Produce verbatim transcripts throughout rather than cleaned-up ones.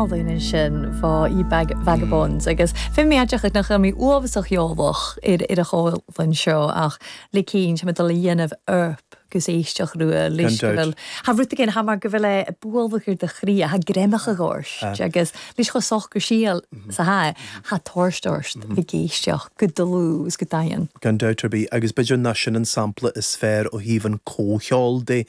Álainn ansin fá Ye Vagabonds agus fi mé nach mé uabhasach eolach ar ar a chomhlan seo ach le cinn me dul a dhéanamh orp gus éisteach rua leis go bhfuil Ha rud again ha mar go bhfuil é buailbh de chrí ha greimach gáirt agus leis cho soch go síal sa ha ha toirstoirst bhí géisteach go dlús go daon. Gan dabht ar bith agus b'fhéidir ná sin an sampla is fearr ó thaobh an comhcheol de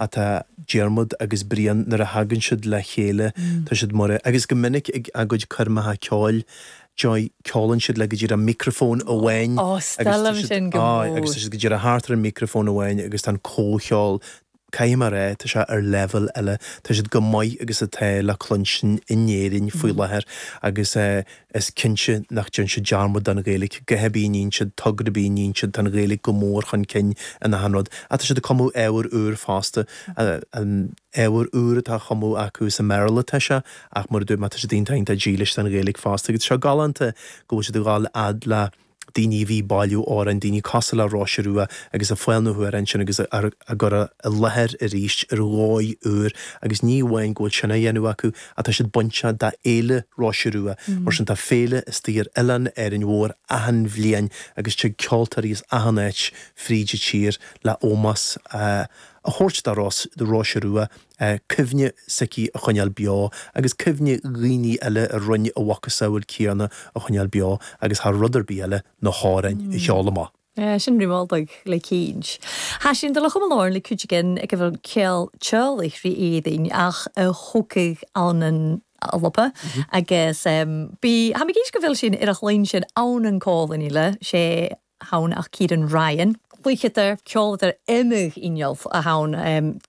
atá Diarmuid agus Brian nuair a thagann siad le chéile tá siad mar agus go minic ag a gcuid coirmeacha ceoil Joy ceolann siad le go dtí an microfón amháin sin agus go dtí a thart an microfón amháin agus tá an comhcheol Caithfidh mé rá tá sé ar level eile tá siad go maith agus atá le cluinstin in Éirinn faoi láthair agus is cinnte nach déan siad dearmad den Ghaeilge go hebí níon siad togra bí níon siad an Ghaeilge go mór chun cinn ina hanrod. A tá siad ag cumadh ábhar úr fosta an ábhar úr atá cumadh acu sa mBéarla tá sé ach mar dú má tá siad iontach dílis don Ghaeilge fosta agus seo galánta go bhfuil siad ag dul fhad le daoine bhí bailiú áran daoine cosúil le Róise Rua agus a fáil na huair sin agus a gcur i láthair arís ar dhóigh úr agus ní amháin go bhfuil sin a dhéanamh acu atá siad bainte dá fhéile Róise Rua mar sin tá féile istigh ar oileán Árainn Mhór achan bhliain agus tig ceoltóirí as achan áit fríd an tír le ómós a thabhairt dá do Róise Rua cuimhne s'aici a choinneáil beo agus cuimhne dhaoine eile a rinne a mhacasamhail céanna a choinneáil beo agus thar rud ar bith eile na hamhráin a cheol amach. Sin rímáldaigh le cíint. Tá sin de le chumláir le cuidigan ag bhfuil céal teolaich rí éadain ach a thócaigh an an lopa agus bí ha géis go bhfuil sin ar a chlóin sin ann an cólan le sé hann ach Ciaran Ryan. Cluichetar ceoltar imih inneall a hann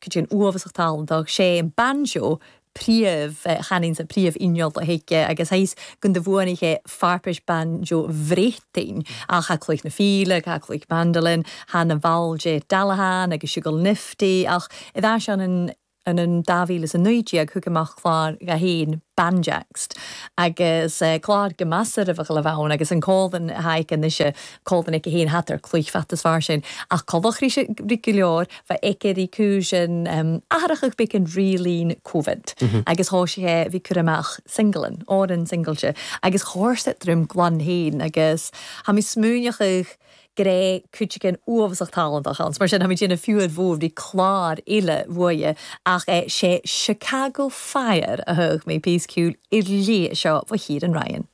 chu an uabhasach talentach sé an banjo príomh chanín sa príomh inneall a héige agus héis gun de bhuanaithe farpis banjo bhrétain ach ha cluich na fíle, ha cluich mandolin, han na bhalje Dalahan agus siúgal nifty ach i dá an an an an dá mhíle is a naoi déag thug amach clár a haon Banjaxed agus uh, clár go measar a bheith le bheinn agus an cólan haig an ise cólan ag haon hatar cluich fat is fearr sin ach codach rí rí go leor bheith aici rí cúsin um, athrachach be an rílín COVID mm -hmm. agus thá sé bhí chu amach singlean ó an single agus chóirsa drum glan héin agus ha mi smúneachach gré cuidigan uabhasach talentach ans, mar sin ha déna fiúad mhór bhí clár eile bhuaie ach é sé Chicago Fire a thug mé píosa ceoil i lé seo bh Ciaran Ryan.